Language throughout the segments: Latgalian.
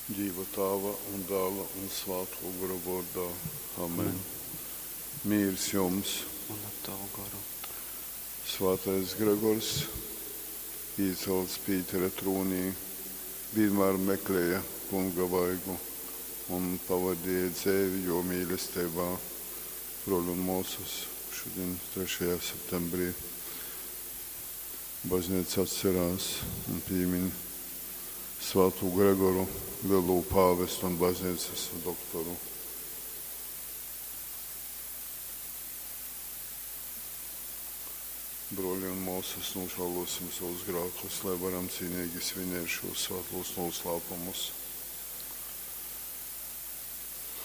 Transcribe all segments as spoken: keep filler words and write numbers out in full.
Dīva Tāva un Dāla un Svātō Gora vōrdā. Amen. Amen. Mīrs jums! Un ar tavu goru. Svātais Gregors, īcelts Pītera trūnī, vienmēr meklēja Kunga vaigu un pavadīja dzeivi jō mīlestībā. Brōļi un mōsas, šodien trešajā septembrī baznīca atcerās un piemin Svātū Gregoru, lielo pāvestu un baznīcas doktoru. Brōļi un māsas, nožēlosim savus grēkus, lai varam cīnīgi svinēt šos svētos noslēpumus.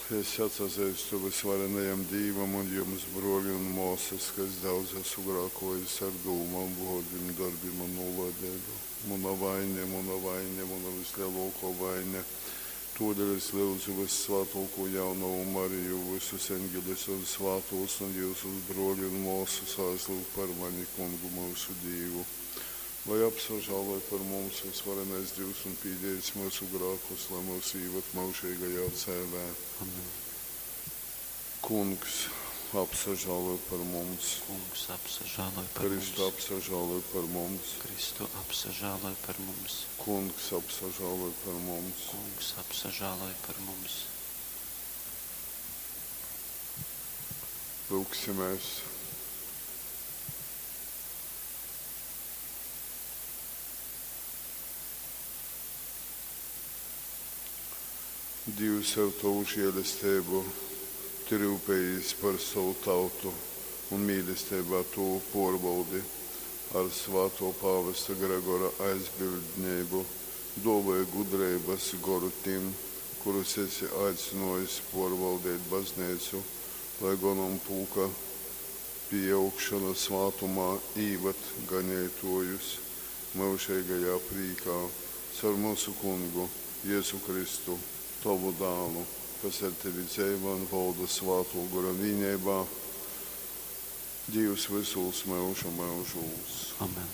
Es atzīstu visvarenajam Dīvam un jums, brōļi un māsas, ka es daudz esmu grēkojis ar dūmām, vārdiem, darbiem un nolaidību. Mana vaina, mana vaina, mana vislielākā vaina. Tādēļ es lūdzu Vissvētāko Jaunavu Mariju, visus eņģeļus un svētos un jūsus brōļi un māsas aizlūgt par mani, Kungu mūsu Dievu. Lai apsažāloj par mums visvarenais Dievs un pīdējis mūsu grēkus, lai mūs īvad mūžīgajā dzīvē. Amen. Kungs, apsažāloj par mums. Kungs, apsažāloj par Kristu, mums. apsažāloj par mums. Kristu, apsažāloj par mums. Kungs, apsažāloj par mums. Kungs, apsažāloj par mums. Lūgsimies. Dievs ar tavu žēlastību tu rūpējies par savu tautu un mīlestībā to pārbaudi ar svāto pāvesta Gregora aizbildnību, dāvāja gudrības goru tiem, kurus esi aicinājis pārvaldīt baznīcu, lai gonampulka pieaugšana svātumā īvad ganītājus mūžīgajā prīkā caur mūsu Kungu Jēzu Kristu, tavu dālu, kas ar tevi dzīvo un valda Svāto Gora vienībā, Dievs visos mūžu mūžos. Amen.